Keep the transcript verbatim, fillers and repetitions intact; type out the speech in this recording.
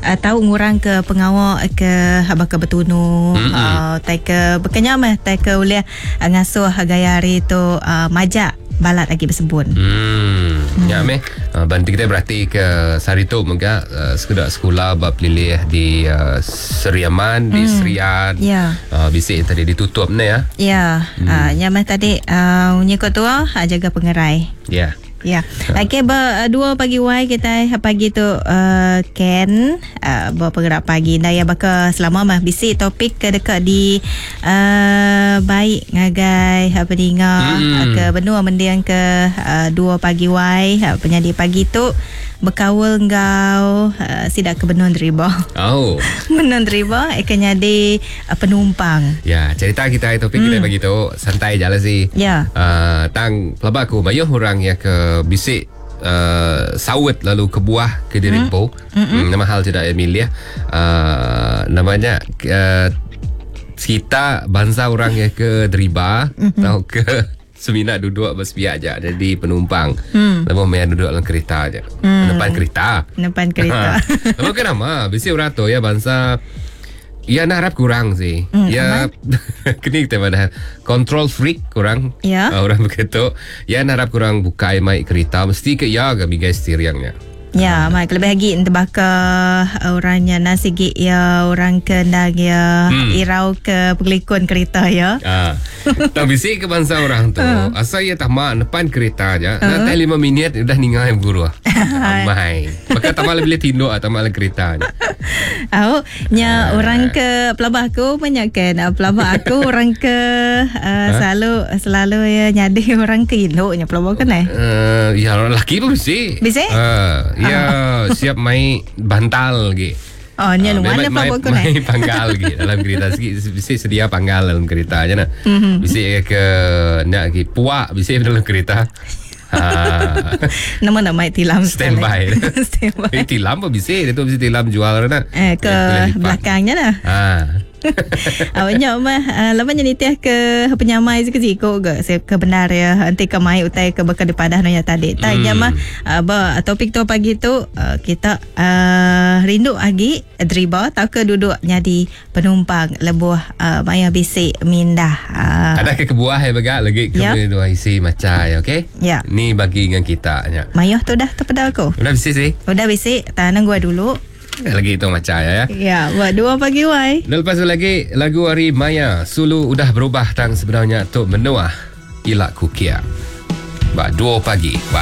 uh, tau ngurang ke pengawa ke baka betunu Mm-mm. uh, tai ke bekenya meh tai ke ulih uh, ngasuh gaya hari tu uh, majak balat lagi bersebun. Hmm, hmm. Ya meh. Uh, bantu kita berarti ke sehari tu mega uh, sekolah sekolah bab pelilih di uh, Seriaman, di Serian. Ya. Uh, bisik tadi ditutup ni ya. Ya, hmm. uh, nya meh tadi uh, nyikut tua uh, jaga pengerai. Ya. Ya. Okey, ber, dua pagi wai kita pagi tu uh, Ken uh, bergerak pagi. Dah ya baka selama mah bisi topik ke dekat di uh, baik ngagai apa dinga Mm. ke benua mendiang ke uh, dua pagi wai uh, penyadi pagi tu berkawal ngau uh, sidak ke benua deriba. Oh. Benua deriba akan jadi uh, penumpang. Ya, cerita kita topik kita pagi tu santai je lah sih. Ya. Uh, tang pelaba aku bayuh orang yang ke bisik uh, sawit lalu ke buah ke diri empu. Hmm. Nama hal tidak Emilia. Uh, namanya uh, kita bangsa orang yang ke deriba mm-hmm. atau ke semina duduk bersepiak je jadi penumpang. Hmm. Lepas main duduk dalam kereta je. Hmm. Depan kereta. Depan kereta. Lepas kenapa? Bisi orang tu ya bangsa Ya nak harap kurang sih. Hmm, ya kini kita pada control freak kurang. Ya. Uh, orang begitu. Ya nak harap kurang buka mai kereta mesti ke ya ke bigai steeringnya. Ya, mak lebih lagi terbaka orangnya nasi gig ya, orang kendang ya, Hmm. irau ke pengelikun kereta ya. Ah. Tak bisi ke bangsa orang tu. Asal ia tak mak depan kereta aja. Nanti lima minit udah ningai guru. Amai. Maka tak malah bila tinduk atau malah kereta aja. Oh, nya orang ke pelabah aku banyak kan. Ah, Pelabah aku orang ke uh, selalu selalu ya nyadi orang ke induknya pelabah kan eh. Uh, ya orang lelaki pun bisi. Bisi? Uh, ya siap mai bantal lagi. Oh, nya Ah, luar memang na mai, pelabah aku mai eh. panggal lagi dalam kereta sikit bisi sedia panggal dalam kereta aja nak. Mhm. Bisi ke nak lagi puak bisi dalam kereta. Ha. Nama nak mai tilam Stand by. Stand by. Eh, tilam pun bisi, dia tu bisi tilam jual nak. Eh, ke Eh, boleh lipat. belakangnya lah. Ha. Awaknya mah uh, lepas ni nitiah ke penyamai siko ke se ke benar ya nanti ke mai utai ke bekal dipadah nonya tadi. Tak hmm. mah uh, ba topik tu pagi tu uh, kita uh, rindu lagi driba tau ke duduk jadi penumpang lebuh uh, maya bisik mindah. Uh, Ada ke kebuah ya begak lagi ke Ya. dua isi macam ya, okey? Ya. Ni bagi dengan kita nya. Mayuh tu dah terpedal aku. Udah bisi sih. Udah bisik, tanah gua dulu. Lagi itu macam ya. ya. Ya, buat dua pagi wai. Dan lepas tu lagi lagu hari Maya Sulu udah berubah tang sebenarnya tu menuah Ilak Kukia. Ba dua pagi. Ba